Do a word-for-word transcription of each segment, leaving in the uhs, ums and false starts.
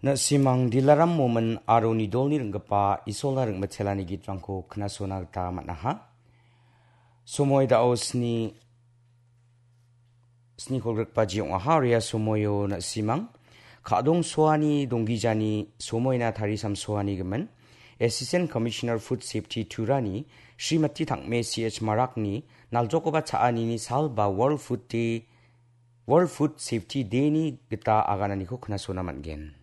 Na·simang Dilaram Momin aro Nidolni ring·gipa Isolna ring·michelani gitrangko knasona gita man·aha. Somoi dao sni, sni kolgrikbaji ong·aha. Ria somoio na·simang Kadong Soani donggijani somoina tarisamsoani gimin Assistant Commissioner Food Safety Turani Srimati Tangme C H Marakni naljokoba cha·anini sal ba World Food Day, World Food Safety Day-ni gita agananiko knasona man·gen.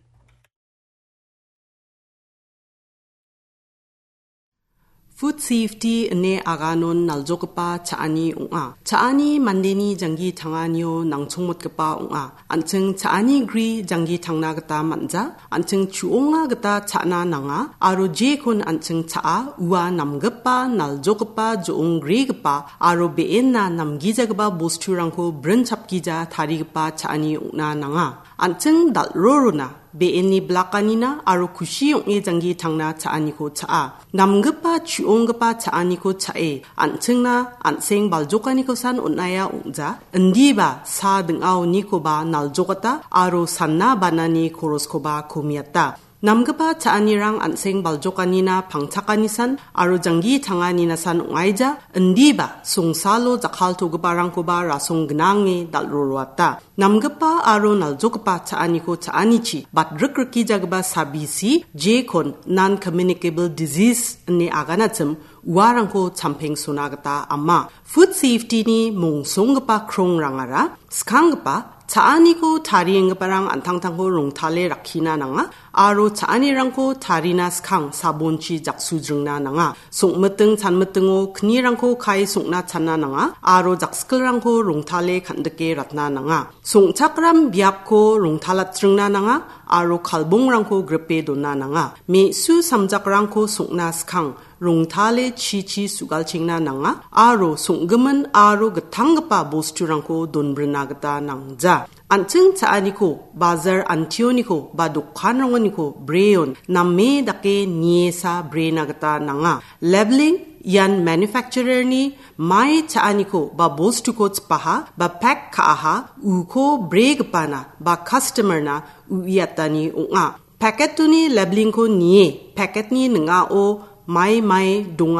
Food safety ine aganon naljogipa cha·ani ong·a. Cha·ani mandeni janggi tanganio nangchongmotgipa ong·a. An·ching cha·ani gri janggi tangna gita man·ja. An·ching chu·onga gita cha·na nanga. Aro jekon an·ching cha·a, ua namgipa, naljogipa, jo·ong grigipa, aro be·enna namgijagipa bosturangko brin chapgija tarigipa cha·ani ong·na nanga. An·ching dal·rorona be·enni blakanina aro kusi ong·e janggi tangna cha·aniko cha·a. Namgipa chu·onggipa cha·aniko cha·e, an·chingna an·seng baljokanikosan on·aia ong·ja, indiba sa ding·aonikoba naljokata aro sanna banani koroskoba komiata. Namgipa cha·anirang an·seng baljokanina pangchakanisan aro janggi tanganinasan ong·aija, indiba songsalo jakkaltogiparangkoba rasong gnange dal·roroata. Namgipa aro naljogipa cha·aniko cha·anichi batrikrikijagipa sabisi, jekon non-communicable disease ine aganachim, uarangko champengsona gita ama. Food safety-ni mongsonggipa krongrangara skanggipa cha·aniko tarienggiparang an·tangtangko rongtale rakkina nanga aro cha·anirangko tarina skang sabonchi jaksujringna nanga. Songmiting chanmitingo knirangko kae songna channa nanga aro jakskilrangko rongtale kan·dike ratna nanga. Songchakram biapko rongtalatringna nanga aro kalbongrangko gripe dona nanga. Me·su samjakrangko songna skang rongtale chichi su·galchengna nanga aro songgimin aro gittanggipa bosturangko donbrina gita nangja. An·ching cha·aniko, bajar antioniko ba dokanrangoniko breon name dake niesa brena gita nanga. Labeling ian manufacturer-ni mai cha·aniko ba bostuko chipaha ba pek ka·aha uko bregipana ba customer-na uiatani ong·a. Packet-oni labeling-ko nie packet-ni ning·ao mai mai donga.